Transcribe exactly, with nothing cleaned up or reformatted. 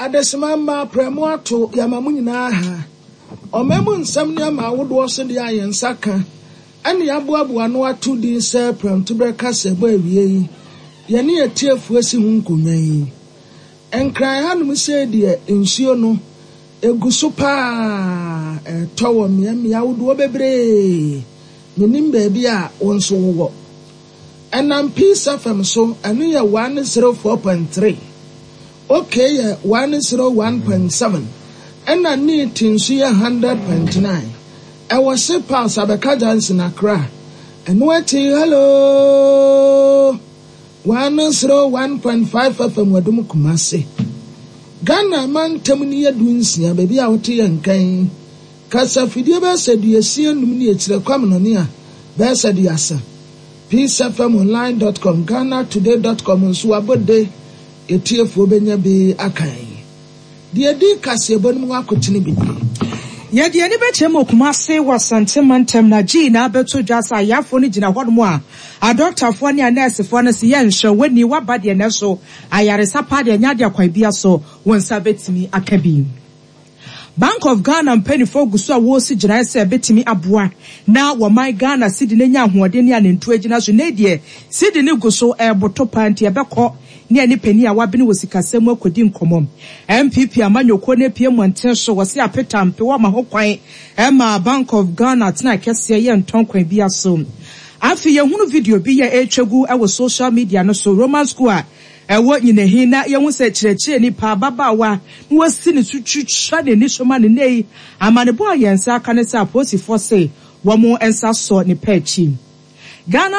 Adesima mma prɛmo ato yɛama mo nyinaa ha. Ɔman mu nsɛm nneɛma ahodoɔ so deɛ a yɛn nsa ka ɛne yɛaboaboa no ato din sɛ prɛmtoberɛ kaseɛbɔ awie yi, yɛne yɛtiefoɔ si ho nkonnwa yi. Nkran hanom sei deɛ, nsuo no egu so paa, ɛtɔ wɔ mmeammea ahodoɔ bebree. Menim baabi a wo nso wowɔ. Ɛnam Peace F M so, ɛno yɛ one zero four point three. Okay yɛ one zero one point seven. Ɛna Neat nso yɛ hundred point nine. Ɛwɔ Ship House, Abɛka Junction, Accra. Ɛno akyi, hello one zero one point five F M Wadum, Kumase. Ghana mantam ni yɛ du nsia, baabi a wote yɛn nkan. Kasafidie bɛyɛ sɛ duasia num ne akyirɛ kwamenɔne a bɛyɛ sɛ duasa. peace F M online dot com, Ghana Today dot com nso abɔde etiefoɔ bɛnya bi akan. Deɛ di kaseɛbɔ no mu akotene bi nie. Yɛde ani bɛkyerɛ mu Kumase wɔ Asante mantam na gyii na abɛto dwa sɛ ayafoɔ no gyina hɔnom a adɔktafoɔ ne anɛɛsefoɔ no sɛ yɛnhwɛ w'ani waba deɛ nɛ so ayaresa pa deɛ nyɛ adeɛ kwan bia so wɔn nsa bɛtumi aka bi. Bank of Ghana mpanimfoɔ gu so a wɔresi gyinaeɛ sɛ ɛbɛtumi aboa na wɔman Ghana sidi no anya ahoɔden ne anantu agyina so. Ne deɛ sidi no gu so ɛreboto paa, nti ɛbɛkɔ ne ɛne panin a wabene wɔ sikasɛm mu akɔdi nkɔmmɔ. N P P amanyɔkuo no apue mmɔnten so, wɔse apetampe wɔma ho kwan ɛma Bank of Ghana tena kɛseɛ yɛ ntɔn kwan bi so. Afei yɛhunu video bi yɛ ɛretwa gu ɛwɔ social media no so, Roman School a ɛwɔ Nyinahin, na yɛhu sɛ kyerɛkyerɛ nipa ababaawa na wasi ne so twitwa n'ani so ma ne nne yi. Amanebɔ a yɛn nsa aka ne sɛ apolisifoɔ se wɔn nsa sɔ ne pɛ akyi. Ghana